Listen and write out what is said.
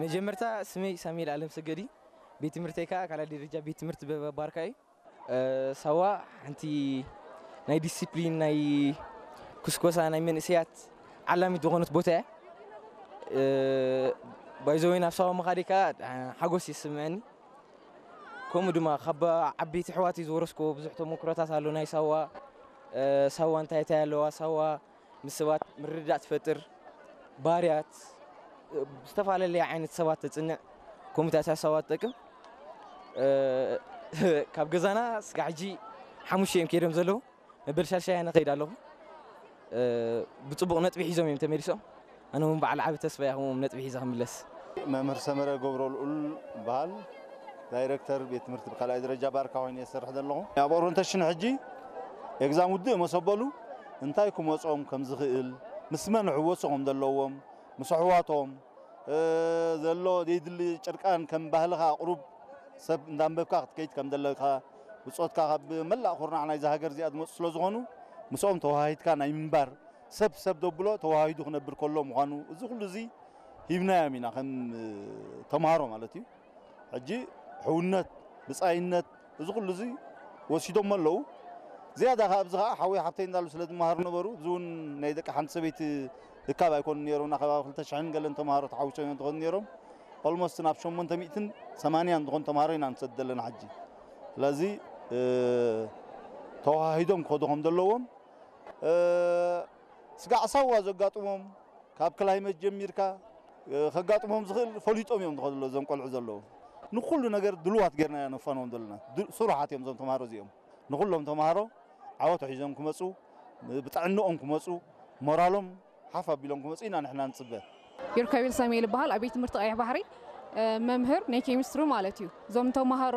መጀመርታ ስመይ ሳሙኤል ኣለም ሰገድ እዩ። ቤት ትምህርተይ ከዓ ካልኣይ ደረጃ ቤት ትምህርቲ በበባርካ እዩ። ሳዋ ሓንቲ ናይ ዲሲፕሊን ናይ ኩስኮሳ ናይ መንእሰያት ዓላሚት ዝኾነት ቦታ እያ። ባይዘወይ ናብ ሳዋ ምኻደይ ከዓ ሓጎስ ይስምዐኒ። ከምኡ ድማ ካብ ዓበይቲ ኣሕዋተይ ዝወረስክዎ ብዙሕ ተመክሮታት ኣሎ። ናይ ሳዋ ሳዋ እንታይ እንታይ ኣለዋ፣ ሳዋ ምስ ሰባት ምርድዳእ ትፈጥር፣ ባርያት ዝተፈላለየ ዓይነት ሰባት ተፅንዕ፣ ከምኡታት ሳዋ ትጠቅም። ካብ ገዛና ስጋ ሕጂ ሓሙሽተ እዮም ከይዶም ዘለዉ። መበል ሻልሻይ ኣነ ከይድ ኣለኹ። ብፅቡቕ ነጥቢ ሒዞም እዮም ተመሊሶም። ኣነ እውን በዓል ዓቢ ተስፋ እያ ከምኦም ነጥቢ ሒዘ ክምለስ። መምህር ሰመረ ገብረልኡል በሃል፣ ዳይረክተር ቤት ትምህርቲ ብካልኣይ ደረጃ ባርካ ኮይኑ እየ ዝሰርሕ ዘለኹ። ኣብ ኦሪንቴሽን ሕጂ ኤግዛም ውድእ መሰበሉ እንታይ ክመጾም ከም ዝኽእል፣ ምስ መን ሕወሶ ከም ዘለዎም፣ ምስ ኣሕዋቶም ዘሎ ዘይድሊ ጭርቃን ከም ባህልኻ ኣቕሩብ ሰብ እንዳንበብካ ክትከይድ ከም ዘለካ፣ ብጾትካ ካብ መላእ ኩርናዕ ናይዛ ሃገር እዚኣ ዝመጹ ስለ ዝኾኑ ምስኦም ተወሃሂድካ ናይ ምንባር ሰብ ሰብ ደብሎ ተወሃሂዱ ክነብር ከሎ ምዃኑ እዚ ኩሉ እዚ ሂብናዮም ኢና ከም ተምሃሮ ማለት እዩ። ሕጂ ሕውነት፣ ብጻይነት እዚ ኩሉ እዚ ወሲዶሞ ኣለዉ። ዝያዳ ከኣ ኣብዚ ከኣ ሓወይ ሓብተይ እንዳሉ ስለ ዝመሃሩ ነበሩ። እዚ እውን ናይ ደቂ ሓንቲ ሰበይቲ እካብ ኣይኮኑን ነይሮም። ናብ ከባቢ ክልተ ሽሕን ገለን ተምሃሮ ተሓዊሶም እዮም ዝኾኑ ነይሮም። ኦልሞስት ናብ ሸሞንተ ሚእትን ሰማንያን ዝኾኑ ተምሃሮ ኢና ንሰድ ዘለና ሕጂ። ስለዚ ተዋሂዶም ክኸዱ ከም ዘለዎም ስጋዕ ሳዋ ዘጋጥሞም ካብ ክላይመት ጀሚርካ ከጋጥሞም ዝኽእል ፈሊጦም እዮም ዝኸዱ ዘለዉ እዞም ቆልዑ ዘለዉ። ንኩሉ ነገር ድልዋት ጌርና ኢና ነፋንዎም ዘለና። ስሩሓት እዮም እዞም ተምሃሮ እዚኦም። ንኩሎም ተምሃሮ ዓወት ሒዞም ክመፁ፣ ብጥዕንኦም ክመፁ፣ ሞራሎም ሓፍ ኣቢሎም ክመፁ ኢና ንሕና ንፅበ። ዮርካቤል ሳሙኤል ይበሃል። ኣብ ቤት ትምህርቲ ቀይሕ ባሕሪ መምህር ናይ ኬሚስትሪ ማለት እዩ። እዞም ተምሃሮ